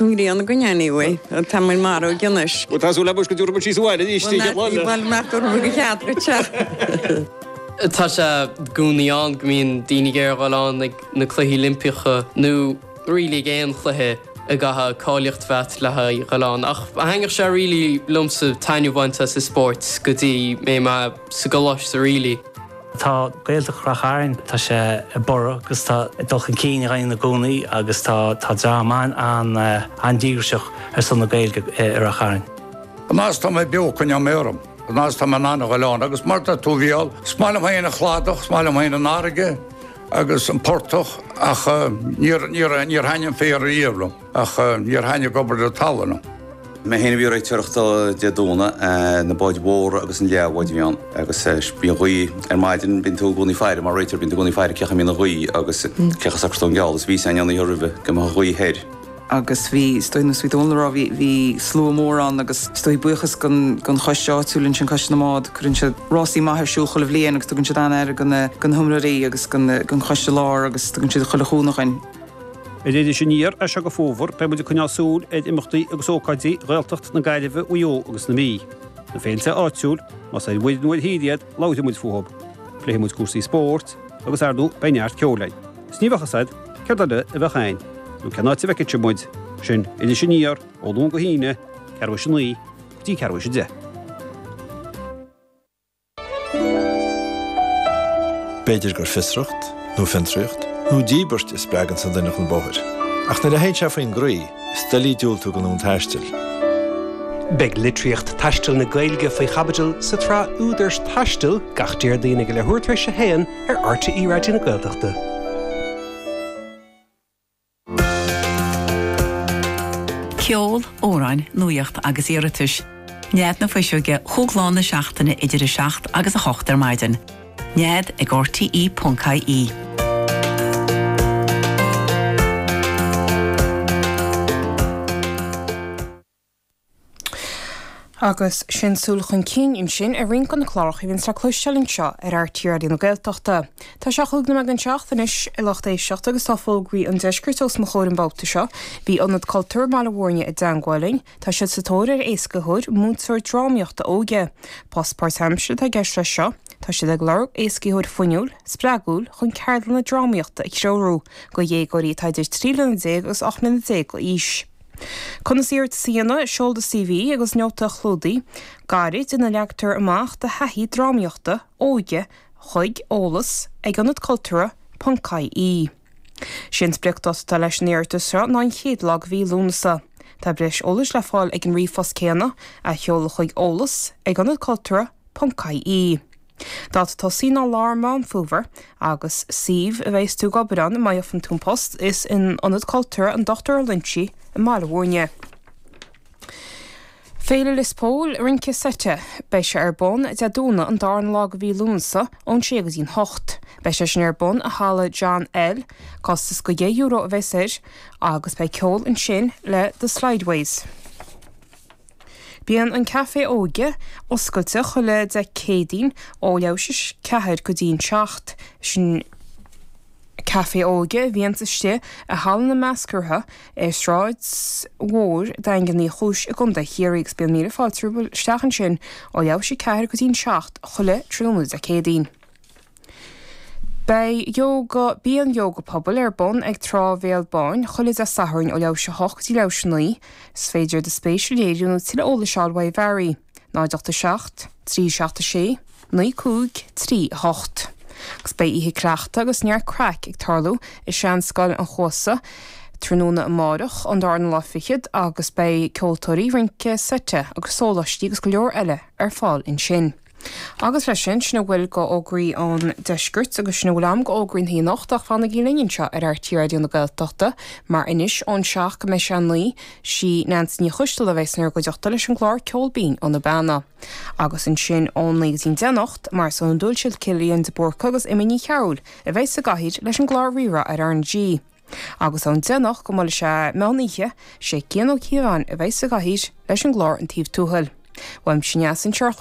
An ghrian againn anyway. Tá muid marbh anois. Bhuel tá súil agam go dtabharfaidh muid síos abhaile arís an chéad lá eile. Bhuel, nach dtabharfaidh muid go cead dhuit é. Tá sé i gcónaí ann go mbíonn daoine ag iarraidh a dhul ann ag na Cluichí Oilimpeacha nó really ag aon chluiche a gcaithfidh cáilíocht a bheith agat le haghaidh dhul ann. Ach thaitneodh sé really liomsa taitneamh a bhaint as an spórt go dtí mé sa gcoláiste really. Tá Gaeltacht Rath Chairn, tá sé ag borradh agus tá ag dul chun cinn againn i gcónaí agus tá tá dream an-díograiseach ar son na Gaeilge i Rath Chairn. An fhad is tá mé beo coinneoidh mé orm, an fhad is tá mé in ann a ghoil ann agus mar a deir tú a Mhícheál, is maith liom féin an cladach, is maith liom féin an fharraige agus an portach ach níor níor níor thaitnigh an féar riamh liom ach níor thaitnigh ag obair ar an talamh liom. Mé féin a bhí ag réiteoireacht Dé Domhnaigh, na báid mhóra agus an leathbháid a bhí ann agus bhí an ghaoth ar maidin, bíonn tú i gcónaí ag faire mar réiteoir, bíonn tú i gcónaí ag faire cé chaoi a mbíonn an ghaoth agus cé chaoi a socróidh tú an geall agus bhí a fhios againn an oíche roimhe go mbeadh an ghaoth thoir. Agus bhí, is dóigh, nós a bhí Dónal a rá, bhí, bhí slua mór ann agus is dóigh buíochas gon, gon choiste áitiúil ansin, Coiste na mBád, cuireann siad rásaí maithe ar siúl chuile bhliain agus tugann siad an-aire go na, go na hiomaitheoirí agus gon, gon choiste láir agus tugann siad chuile chúnamh dhuinn. Ar Iris Aniar as seo go fómhar, beidh muid ag coinneáil súil ar imeachtaí agus ócáidí Ghaeltacht na Gaillimhe, Mhaigh Eo agus na Mí. Na féilte áitiúil, más ar mhuir nó ar thír iad, labharfaidh muid fúthu. Pléifidh muid cúrsaí spóirt agus, ar ndóigh, beidh neart ceoil againn. Is ní bheadh fhios a'd céard eile a bheadh againn, nó cén áit a bhfeicfidh sibh muid. Sin Iris Aniar, ó Luan go hAoine, ceathrú théis a 9 go dtí ceathrú théis a 10. B'fhéidir gur fiosracht, nó fiontraíocht, nó díbirt a spreaganns an duine chun bóthair. Ach nuair a théann sé faoin gcroí, is doiligh diúltú don fhonn taistil. Beidh litríocht taistil na Gaeilge faoi chaibidil sa tsraith Údair Taistil gach Déardaoin ag a leathuair tar éis a haon ar RTÉ Raidió na Gaeltachta. Ceol, amhráin, nuaíocht agus iarratais. Nead na Fuiseoige chúig lá na seachtaine idir 7 agus 8 ar maidin. Nead ag rte.ie. Agus sin súil chun cinn ansin ar roinnt de na cláracha a bhíonns le cloisteáil anseo ar RTÉ Raidió na Gaeltachta. Tá sé chúig nóiméad don seacht anois, a lucht éisteachta, agus tá fógraí an deiscirt os mo chomhair an babhta seo. Bhí Ionad Cultúrtha i mBaile Bhúirne i dteangmháil linn. Tá siad sa tóir ar éascaitheoir, múinteoir drámaíochta óige. Post páirtaimseartha atá i gceist leis seo. Tá siad ag lorg éascaitheoir fuinniúil, spreagúil chun ceardlanna drámaíochta a threorú do dhéagóirí atá idir 13 bliana agus 18 mbliana d'aois. Conas iarratas a dhéanamh, Seol do CV agus nóta clúdaigh gairid ina leagtar amach do thaithí drámaíochta óige chuig eolas ag ionadcultúrtha ponc ie. Sé an spriocdháta atá leis an iarratas seo ná an chéad lá de mhí Lúnasa. Tá breis eolais le fáil ag an ríomhphost céanna, a sheoladh chuig eolas ag ionadcultúrtha ponc ie. Dáta tosaigh ná lár Meán Fómhair agus suíomh a bheas tú ag obair ann má gheobhann tú an post is in Ionad Cultúrtha an Dr Loinsigh i mBaile Bhúirne. Féile Lios Póil, Rince Seite, Beidh sé ar bun Dé Domhnaigh an darna lá de mhí Lúnasa ón 6 go dtí'n 8. Beidh sé sin ar bun i Halla John L. Costas de €10 a bheas air agus beidh ceol ansin le The Slideways. Bíonn an Caifé Óige oscailte chuile Dé Céadaoin ó leathuair tar éis a 4 go dtí'n 7. Sin Caifé Óige a bhíonns istigh i Halla na Meascartha ar Sráid Mhór Daingean Uí Chúis i gContae Chiarraí agus bíonn míle fáilte romhaibh isteach ansin ó leathuair tar éis a 4 go dtí'n 7 chuile tráthnóna Dé Céadaoin. Beidh Ióga, Bíonn Ióga Pobail ar bun ag Trá Bhéal Báin chuile Dé Sathairn ó leathuair tar éis a 8 go dtí leathuair tar éis a 9. Is féidir do spéis a léiriú nó tuilleadh eolais a fháil uaidh Mhary, 0 8 7 3 7 6 9 5 3 8. Agus beidh oíche cleachta agus neart craic ag tarlú i Seanscoil an Chuasa tráthnóna amárach, an darna lá fichead, agus beidh ceoltóirí, rince seite agus sóláistí agus go leor eile ar fáil ansin. Agus leis sin, sin a bhfuil de fhógraí an deiscirt agus sin a bhfuil agam de fhógraí na anocht ach fanaigí linn anseo ar RTÉ Raidió na Gaeltachta mar anois ón 7 go mbeidh sé a 9, sí Neansaí Ní Choisteala a bheas inár gcuideachta leis an gclár Ceol Binn ó na Beanna. Agus ansin ón 9 go dtí'n 10 anocht, mar is iondúil, siad Cillian de Búrca agus Emma Ní Chearúil a bheas sa gcathaoir leis an gclár Rí-Rá ar RnaG. Agus ón 10 anocht go mbuailfidh sé meán oíche, sé Cian Ó Cíobháin a bheas sa gcathaoir leis an gclár An Taobh Tuathail. Uaimse Neasa anseo ar chlár.